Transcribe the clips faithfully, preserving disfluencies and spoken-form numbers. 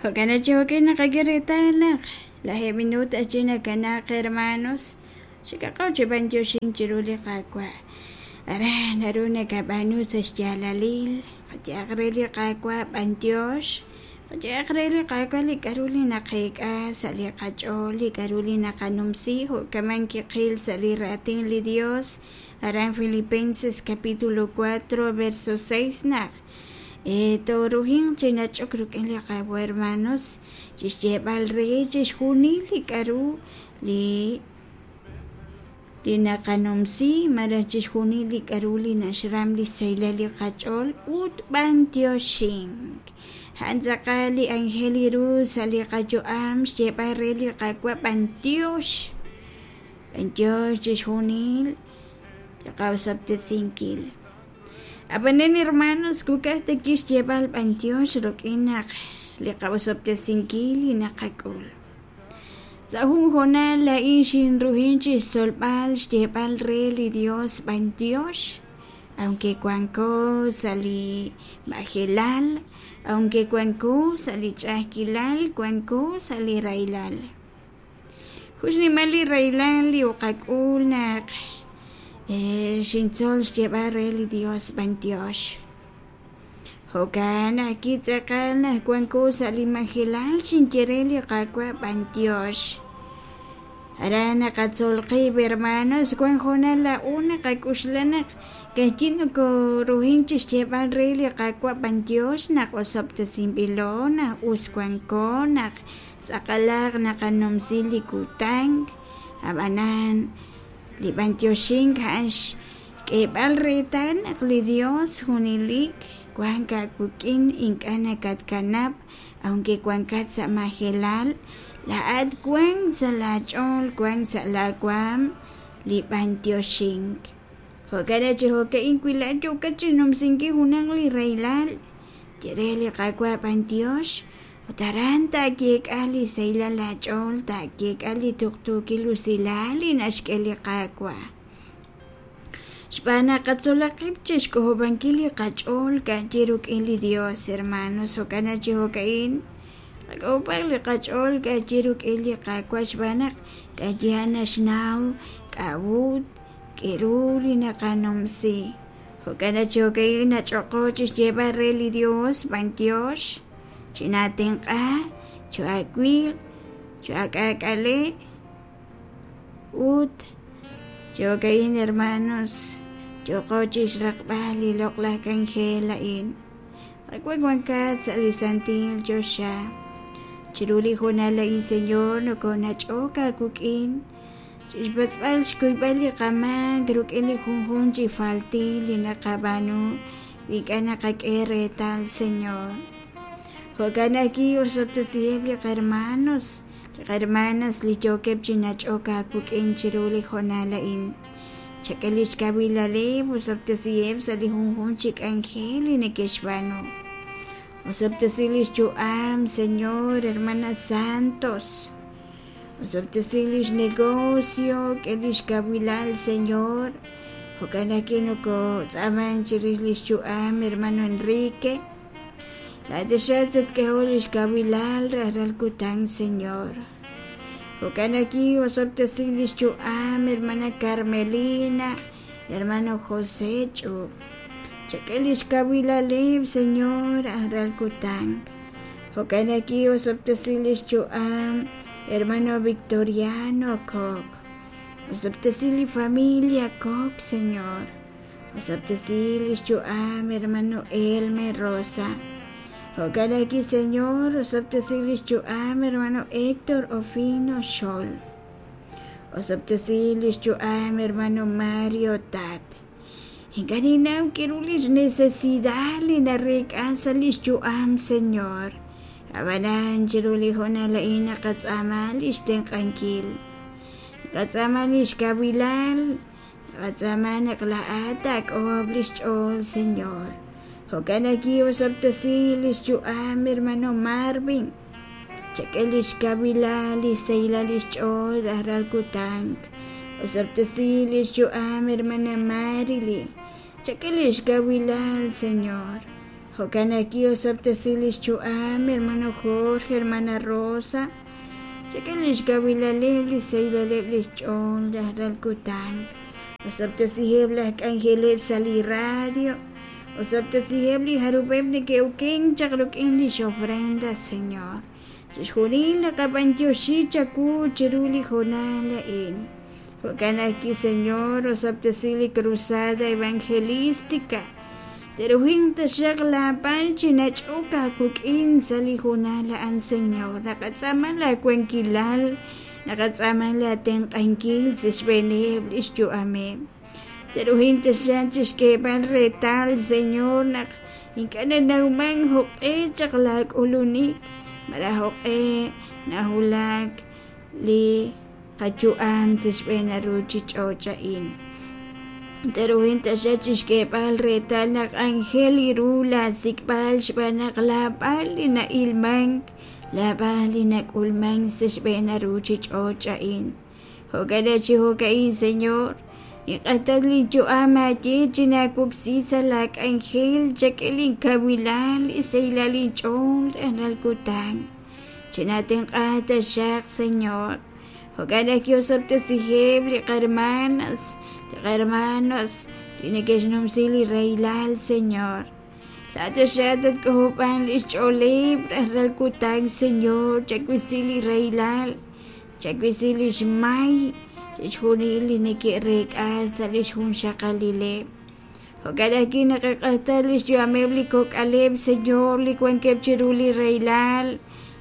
Jo'kan chi jo'kan naqak'e reetal naq lajeeb' minuut ajchi nakanaaq hermanos xikaqo chi b'antioxink chiru li Qaawa' aran naru nakab'aanu sa' xyaalalil qayehaq re li Qaawa' b'antiox qayehaq re li Qaawa' li k'a'ru li naqeek'a sa' li qach'ool li k'a'ru li naqanumsi jo'kaman kiqil sa' li raatin li Dios aran Filipenses capítulo cuatro verso seis naq tooruhinq chi nach'ok rik'in li Qaawa' hermanos chixyeeb'al re chixjunil li k'a'ru li li naqanumsi malaj chixjunil li k'a'ru li naxram li sahilal li qach'ool ut b'antioxink a'an tz'aqal li ángel ru sa' li qayu'am xyeeb'al re li Qaawa' b'antiox b'antiox chixjunil li qawsab'tesinkil ab'anan hermanos kukaj ta kixyeeb'al b'antiox rik'in naq li qawsab'tesinkil li naqak'ul sa' jun hoonal laa'in xinruhin chixtzolb'al xyeeb'al re li Dios b'antiox aunque wanko sa' li majelal aunque wanko sa' li ch'a'ajkilal wanko sa' li rahilal jun xnimal li rahilal li uqak'ul naq xintzol xyeeb'al re li Dios b'antiox jo'kan ajwi' tz'aqal naq wanko sa' li majelal xinye re li Qaawa' b'antiox aran naqatzol qib' hermanos wan hoonal laa'o naqak'uxla naq ka'ajwi' nokoruhin chixyeeb'al re li Qaawa' b'antiox naq osob'tesinb'ilo naq us wanko naq tz'aqalaq naqanumsi li kutan ab'anan li b'antioxink a'an xk'eeb'al reetal naq li Dios junelik wank aawik'in ink'a' nakatkanab' aunque wankat sa' majelal laa'at wank sa' laach'ool wank sa' laawaam li b'antioxink jo'kan chi jo'ka'in wi laa'at yookat chinumsinkil junaq li rahilal ye re li Qaawa' b'antiox ut aran taayeek'a li sahilal laach'ool taayeek'a li tuqtuukil usilal li naxk'e li Qaawa' xb'aan naq qatzolaq qib' chixk'ojob'ankil li qach'ool ka'ajwi' rik'in li Dios hermanos jo'kan chi jo'ka'in qak'ojob'aq li qach'ool ka'ajwi' rik'in li Qaawa' xb'aan naq ka'ajwi' a'an naxnaw k'a'ut k'eru li naqanumsi jo'kan chi jo'ka'in nach'oqo chixyeeb'al re li Dios b'antiox chinatenq'a cho'aawil cho'aak'aak'ale ut chi jo'ka'in hermanos yoqo chixraqb'al li loq'laj k'anjel a'in Qaawa' wankat sa' li santil choxa chiru li hoonal a'in Señor nokonach'ok aawik'in chixpatz'b'al xkuyb'al li qamaak rik'in li junjunq chi faltil li naqab'aanu wi ink'a' naqak'e reetal Señor jo'kan ajwi' osob'tesiheb' li qahermanos li qahermanas li yookeb' chi nach'ok aawik'in chiru li hoonal a'in chak'e li xkawilaleb' osob'tesiheb' sa' li junjunq chi k'anjel li neke'xb'aanu osob'tesi li xyu'am Señor hermana Santos osob'tesi li xnegocio k'e li xkawilal Señor jo'kan ajwi' nokotz'aaman chirix li xyu'am hermano Enrique laa'at tatk'eho li xkawilal rajlal kutan Señor jo'kan ajwi' osob'tesi li xyu'am hermana Carmelina hermano José Ch'ub chak'e li xkawilaleb' Señor rajlal kutan jo'kan ajwi' osob'tesi li xyu'am hermano Victoriano Koch osob'tesi li familia Koch Señor osob'tesi li xyu'am hermano Elmer Rosa jo'kan ajwi' Señor osob'tesi li xyu'am hermano Héctor Ofino Xol osob'tesi li xyu'am hermano Mario Tat ink'a' ninnaw k'eru li xnecesidad li nareek'a sa' li xyu'am Señor ab'anan chiru li hoonal a'in naqatz'aama li xtenq'ankil naqatz'aama li xkawilal naqatz'aama naq laa'at taak'ojob' li xch'ool Señor jo'kan ajwi' osob'tesi li xyu'am hermano Marvin chak'e li xkawilal li sahilal li xch'ool rajlal kutan osob'tesi li xyu'am hermana Marily chak'e li xkawilal Señor Jo'kan ajwi' osob'tesi lix yu'am hermano Jorge, hermana Rosa, chak'e lix kawilaleb', li sahilaleb' lix ch'ool rajlal kutan. Osob'tesiheb' laj k'anjeleb' sa' li radio, osob'tesiheb' li jarub'eb' neke'okenk chaq rik'in lix ofrenda, Señor. Chixjunil naqab'antioxi chawu chiru li hoonal a'in. Jo'kan ajwi', Señor, osob'tesi li cruzada evangelística. Teruhin taxaq laapal chi nach'ok aawik'in sa' li hoonal a'an, Señor. Naqatz'aama laawankilal, naqatz'aama laatenq'ankil sa' xb'eeneb' li xyu'ameb'. Teruhin taxaq chixk'eeb'al reetal, Señor, naq ink'a' nanawman jo'q'e chaq laak'ulunik, malaj jo'q'e nawulak li qayu'am sa' xb'een ruchich'och' a'in. Teruhin taxaq chixk'eeb'al reetal naq anjel ru laasik'b'al xb'aan naq laab'al li na'ilmank, laab'al li nak'ulmank sa' xb'een ruchich'och' a'in. Jo'kan chi jo'ka'in, Señor, ninq'atal linyu'am aaye chinaawoksi sa' laak'anjel, chak'e linkawilal, li sahilal inch'ool rajlal kutan. Chinatenq'a taxaq, Señor. Jo'kan ajwi' osob'tesiheb' li qarmanas, li qarmanos li neke'xnumsi li rahilal, Señor. Laat taxaq tatk'ojob'an lix ch'ooleb' rajlal kutan, Señor, chawisi li rahilal, chawisi lix may, chixjunil li neke'reek'a sa' lix junxaqalileb'. Jo'kan ajwi' naqaq'atal lix yu'ameb' li kok'aleb', Señor, li wankeb' chiru li rahilal.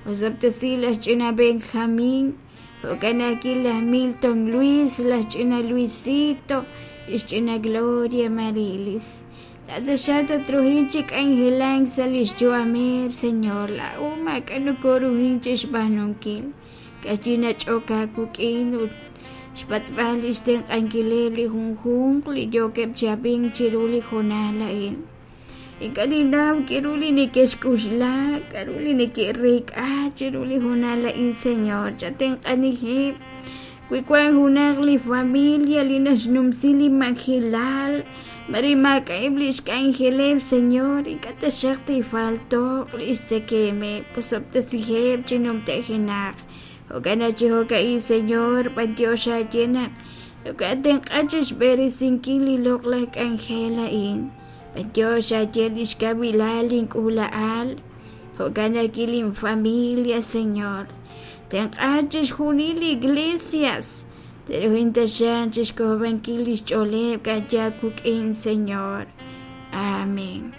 Osob'tesi laj ch'ina Benjamín, jo'kan ajwi' laj Milton Luis, laj ch'ina Luisito, lix ch'ina Gloria Marilis. Laat taxaq tatruhin chi k'anjelank sa' lix yu'ameb', Señor. Laa'o maak'a' nokoruhin chixb'aanunkil. Ka'ajwi' nach'ok aawik'in ut xpatz'b'al lix tenq'ankileb' li junjunq li yookeb' chi ab'ink chiru li hoonal a'in. Ink'a' ninnaw k'aru li neke'xk'uxla, k'aru li neke'reek'a chiru li hoonal a'in, Señor. Chatenq'anijeb'. Wi wank junaq li familia li naxnumsi li majelal, mare maak'a'eb' lix k'anjeleb', Señor, ink'a' taxaq tifaltoq lix tzekemeb', osob'tesiheb' chi numtajenaq. Jo'kan chi jo'ka'in, Señor, b'antiox aaye naq nokoatenq'a chixb'eresinkil li loq'laj k'anjel a'in. B'antiox aaye lix kawilal link'uula'al, jo'kan ajwi' linfamilia, Señor. Tenq'a chixjunil li iglesias. Teruhin taxaq chixk'ojob'ankil lix ch'ooleb' ka'ajwi' aawik'in, Señor. Amén.